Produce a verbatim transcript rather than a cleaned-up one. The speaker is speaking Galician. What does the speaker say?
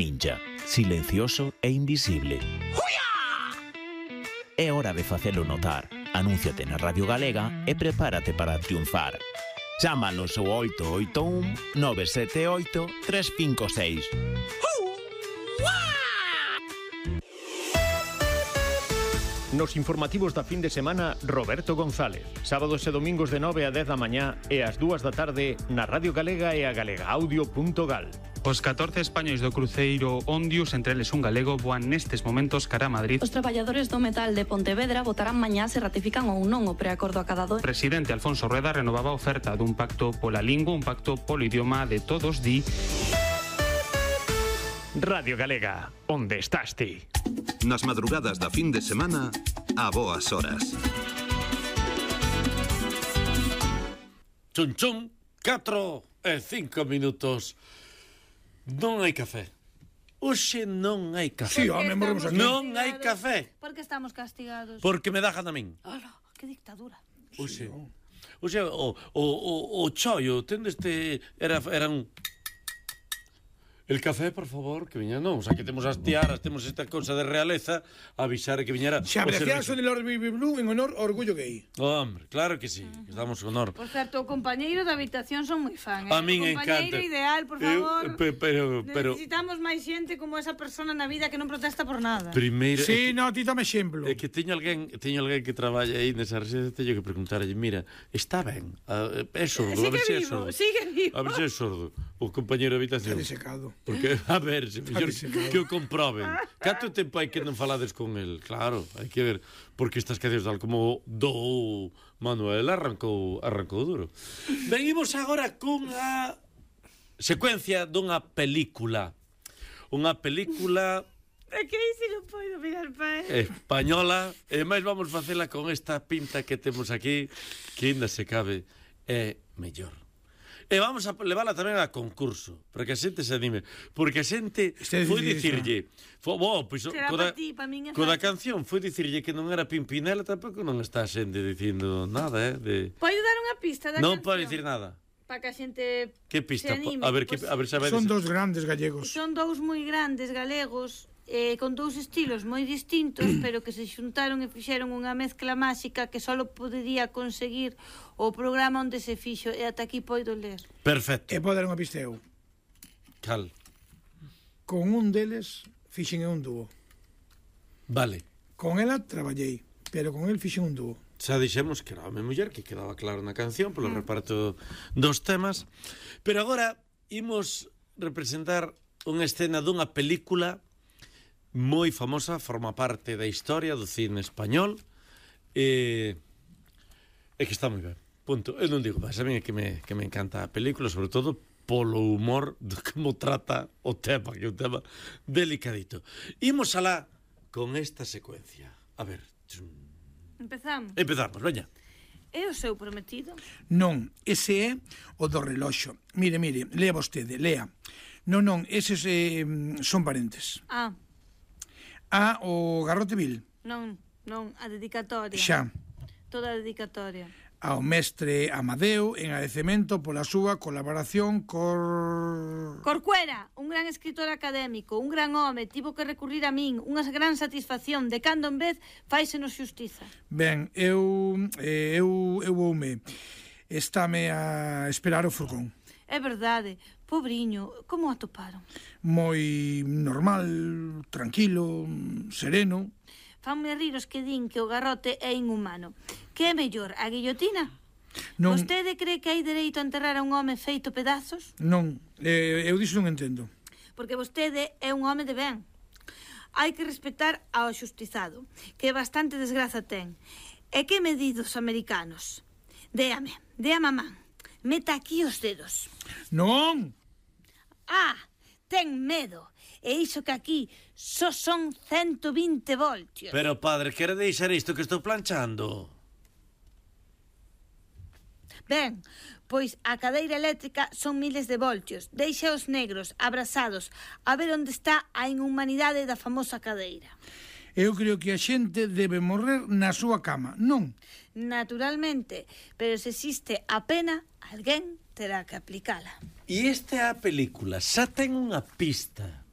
ninja, silencioso e invisible. É hora de facelo notar. Anúnciate na Radio Galega e prepárate para triunfar. Chámanos ao oito oito un nove sete oito tres cinco seis. Nos informativos da fin de semana, Roberto González. Sábados e domingos de nove a dez da mañá e ás dúas da tarde na Radio Galega e a galegaaudio punto gal. Os catorce españois do cruceiro Ondius, entre eles un galego, voan nestes momentos cara a Madrid. Os traballadores do metal de Pontevedra votarán mañá se ratifican ou non o preacordo acadado. O presidente Alfonso Rueda renovaba a oferta dun pacto pola lingua, un pacto polo idioma de todos, di... Radio Galega, onde estás ti? Nas madrugadas da fin de semana, a boas horas. Chun chun, catro e cinco minutos. Non hai café. Oxe non hai café. Sí, home, morremos aquí. Non hai café. Por que estamos castigados? Porque me da gana a min. Ala, que dictadura. Oxe, oxe, o, o, o, o chollo, tende este... Era, era un... El café, por favor, que viña non. O sea, que temos as tiaras, temos esta cousa de realeza, avisar que viñera... Se apreciaso de Lord Bibi Blue en honor ao orgullo gay. Hombre, claro que sí, que estamos con honor. Por certo, o compañeiro da habitación son moi fan, eh? A min o compañeiro encanta. ideal, por favor. Eu, pe, pero, pero... Necesitamos máis xente como esa persona na vida que non protesta por nada. Primeiro... Sí, que, no, ti tome exemplo. É que teño alguén, teño alguén que traballa aí nesa residencia, teño que preguntarlle, mira, está ben? A, é sordo, Sigue a ver se é vivo, sordo. sigue vivo. A ver se é sordo. O compañeiro de habitación. Está disecado. Porque, a ver, se mellor disecado. que o comproben. Canto tempo hai que non falades con el? Claro, hai que ver, porque estas cancións tal como do Manuel arrancou, arrancou duro. Venimos agora cunha secuencia dunha película. Unha película... É que aí se non podo mirar pa él. Española, e máis vamos facela con esta pinta que temos aquí, que ainda se cabe, é mellor. E vamos a levala tamén a concurso, para que a xente se anime, porque a xente foi dicirlle, foi, bo, pois, Será coda, pa ti, pa min é coda fácil. canción foi dicirlle que non era Pimpinela, tampouco non está a xente dicindo nada, eh, de... Podo dar unha pista da Non canción? pode dicir nada. Para que a xente Que pista? se anime. A ver, que, Pois a ver, sabedes. Son dos grandes gallegos. Son dous moi grandes galegos, eh, con dous estilos moi distintos, pero que se xuntaron e fixeron unha mezcla máxica que só podería conseguir o programa onde se fixo, e ata aquí poido ler. Perfecto. E pode dar unha pista eu. Cal. Con un deles fixen un dúo. Vale. Con ela traballei, pero con el fixen un dúo. Xa dixemos que era home e muller, que quedaba claro na canción polo reparto dos temas, pero agora imos representar unha escena dunha película moi famosa, forma parte da historia do cine español, e, e que está moi ben. Punto. Eu non digo máis, a mí é que me, que me encanta a película, sobre todo polo humor de como trata o tema, que é un tema delicadito. Imos alá con esta secuencia. A ver... Empezamos. Empezamos, veña. É o seu prometido? Non, ese é o do reloxo. Mire, mire, lea vostede, lea. Non, non, eses eh, son parentes. Ah, A, o garrote vil. non, non, a dedicatoria. Xa. Toda a dedicatoria. Ao mestre Amadeo en agradecemento pola súa colaboración cor... Corcuera, un gran escritor académico, un gran home, tivo que recurrir a min, unha gran satisfacción, de cando en vez faisenos xustiza. Ben, eu, eh, eu, eu voume. Estáme a esperar o furgón. É verdade, pobriño, como o atoparon? Moi normal, tranquilo, sereno. Fanme rir os que din que o garrote é inhumano. Que é mellor, a guillotina? Non, Vostede cree que hai dereito a enterrar a un home feito pedazos? non, eh, eu diso non entendo. Porque vostede é un home de ben. Hai que respetar ao xustizado, que bastante desgraza ten. E que medidos americanos? Déame, déame a man. Meta aquí os dedos. Non! Ah, ten medo. E iso que aquí só son ciento vinte voltios. Pero, padre, quere deixar isto que estou planchando? Ben, pois a cadeira eléctrica son miles de voltios. Deixa os negros abrazados a ver onde está a inhumanidade da famosa cadeira. Eu creo que a xente debe morrer na súa cama, non? Naturalmente, pero se existe a pena, alguén terá que aplicala. E esta é a película, xa ten unha pista.